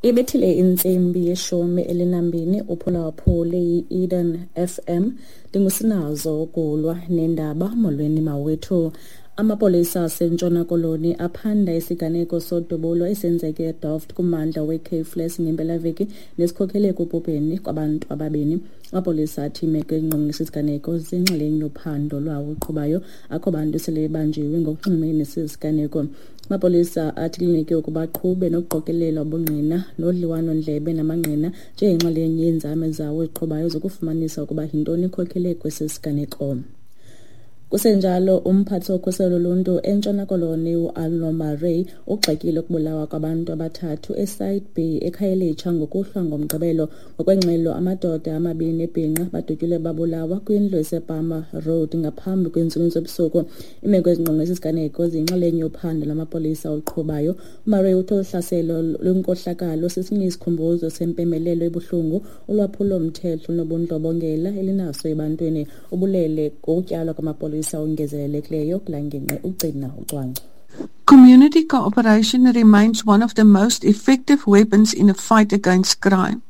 Ibethile intsimbi yeshumi elinambini uphulaphule yi-Eden FM. Ndingusinazo ukulwa nendaba. Molweni mawethu. Amapolisa aseNtshona Koloni aphanda isiganeko sodubulo esenzeke eDelft kummandla weCape Flats ngempelaveki nesikhokhele ekubhubheni kwabantu ababini. Amapolisa athi imeko engqongqisa isiganeko ziyinxalenye yophando lwawo oluqhubayo. Akho bantu sele bebanjiwe ngokunxulumene nesi siganeko. Amapolisa athi kulindeleke ukuba aqhube nokuqokelela ubungqina nodliwano-ndlebe namangqina njengenxalenye yeenzame zawo eziqhubayo zokufumanisa ukuba yintoni ekhokelele kwesi siganeko. Kusenjalo, umphathi wokhuselo loluntu eNtshona Koloni uArno Murray ugxekile ukubulawa kwabantu abathathu eSite B eKhayelitsha ngokuhlwa ngoMgqibelo. Ngokwengxelo, amadoda amabini ebhinqa badutyulwe babulawa kwindlu esePalmer Road ngaphambi kweentsimbi zobusuku. Iimeko ezingqonge esi siganeko ziyinxalenye yophando lwamapolisa oluqhubayo. UMurray uthi olu hlaselo lwenkohlakalo sesinye isikhumbuzo sempembelelo ebuhlungu ulwaphulo-mthetho nobundlobongela elinaso ebantwini. Ubulele ngokutyalwa kwamapolisa ongezelelekileyo kulaa ngingqi ugcina ucwangco. Community cooperation remains one of the most effective weapons in the fight against crime.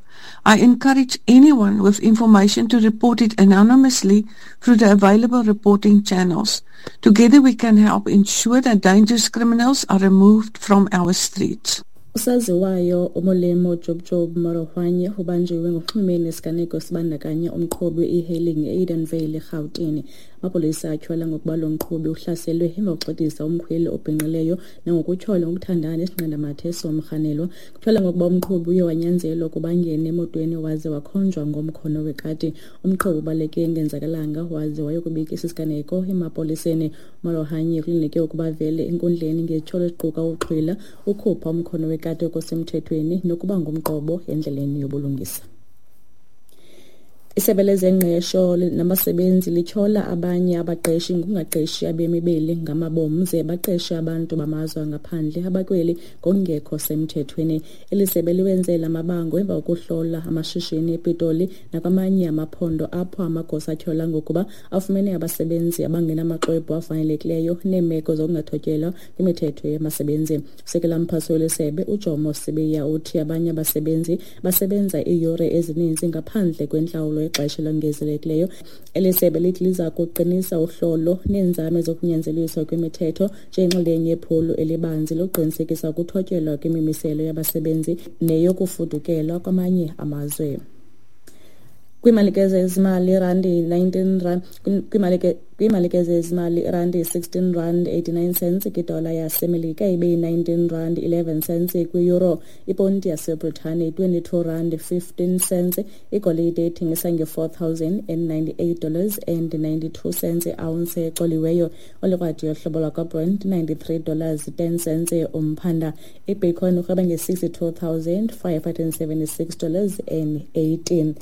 I encourage anyone with information to report it anonymously through the available reporting channels. Together we can help ensure that dangerous criminals are removed from our streets. Usaziwayo uMolemo Jobjob Morohwanye ubanjiwe ngokunxulumene nesiganeko sibandakanya umqhubi we-e-hailing e-Edenvale eRhawutini. Amapolisa atyhola ngokuba lo mqhubi uhlaselwe emva kokuxidisa umkhweli obhinqileyo nangokutyholwa ngokuthandana nesinqandamathe somrhanelwa. Kutyholwa ngokuba umqhubi uye wanyanzelwa ukuba angene emotweni waze wakhonjwa ngomkhono wekati. Umqhubi ubaleke engenzakalanga waze wayokubika esi siganeko emapoliseni. UMorohanye kulindeleke ukuba avele enkundleni ngezityholo eziquka ukuxhwila, ukhupha umkhono wekati okusemthethweni nokuba ngumqobo endleleni yobulungisa. Isebe lezengqesho nabasebenzi lityhola abanye abaqeshi ngokungaqeshi abemi beli ngamabom ze baqeshe abantu bamazwe angaphandle abakweli ngokungekho semthethweni. Eli sebe liwenze la mabango emva kokuhlola amashishini ePitoli nakwamanye amaphondo apho amagosa atyhola ngokuba afumene abasebenzi abangenamaxwebhu afanelekileyo neemeko zokungathotyelwa kwimithetho yabasebenzi. Usekela mphathi weli sebe uJomo Sibiya uthi abanye abasebenzi basebenza iiyure ezininzi ngaphandle kwentlawulo ixesha elongezelekileyo. Eli sebe lithi liza kuqinisa uhlolo neenzame zokunyanzeliswa kwemithetho njengenxalenye yephulo elibanzi lokuqinisekisa ukuthotyelwa kwemimiselo yabasebenzi neyokufudukelwa kwamanye amazwe. Kwiimalike zezimali irandi 19 rand kwiimalike zezimali irandi 16 rand 89 cents kwidola yaseMelika, ibe yi-19 rand 11 cents kwi-euro, iponti yaseBritane 22 rand 15 cents, igolide ithengisa nge-$4,098 dollars and 92 cents i-ounce ecoliweyo, olikrwadi yohlobo lwakwaBrent 93 dollars 10 cents umphanda, ibitcoin urhweba nge-$62,576 dollars and 18.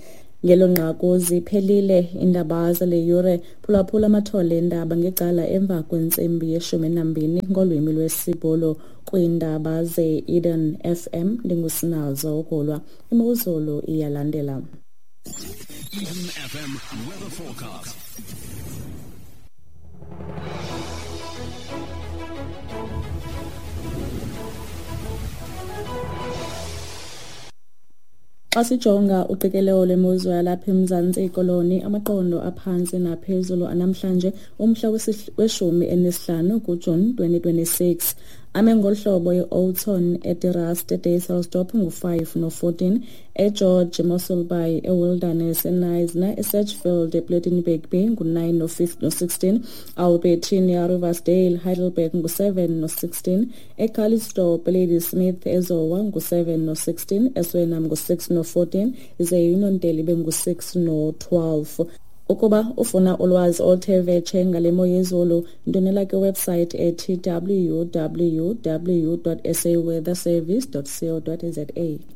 Ngelo nqaku ziphelile iindaba zale yure. Phulaphula amathole endaba ngecala emva kwentsimbi yeshumi nambini ngolwimi lwesiBhulu kwiindaba ze-Eden FM. Ndingusinazo ukulwa. Imozulu iyalandela. Eden FM weather forecast. Xa sijonga uqikelelo lwemozulu yalapha eMzantsi Koloni, amaqondo aphantsi naphezulu anamhlanje umhla we-15 kuJuni 2026 ame ngolu hlobo: i-Oudtshoorn eDe Rust eDysselsdorp ngu-5 no-14, eGeorge, Mossel Bay, eWilderness, eKnysna, eSedgefield, ePlettenberg Bay ngu-9 no-16, Albertina, Riversdale, Heidelberg ngu-7 no-16, eCalitzdorp, Ladysmith, eZowa ngu-7 no-16, eSuriname ngu-6 no-14, ze iNonteli ibe ngu-6 no-12. Ukuba ufuna ulwazi oluthe vetshe ngale mo yezulu, ndwendwela kwiwebhusayithi ethi www.saweatherservice.co.za.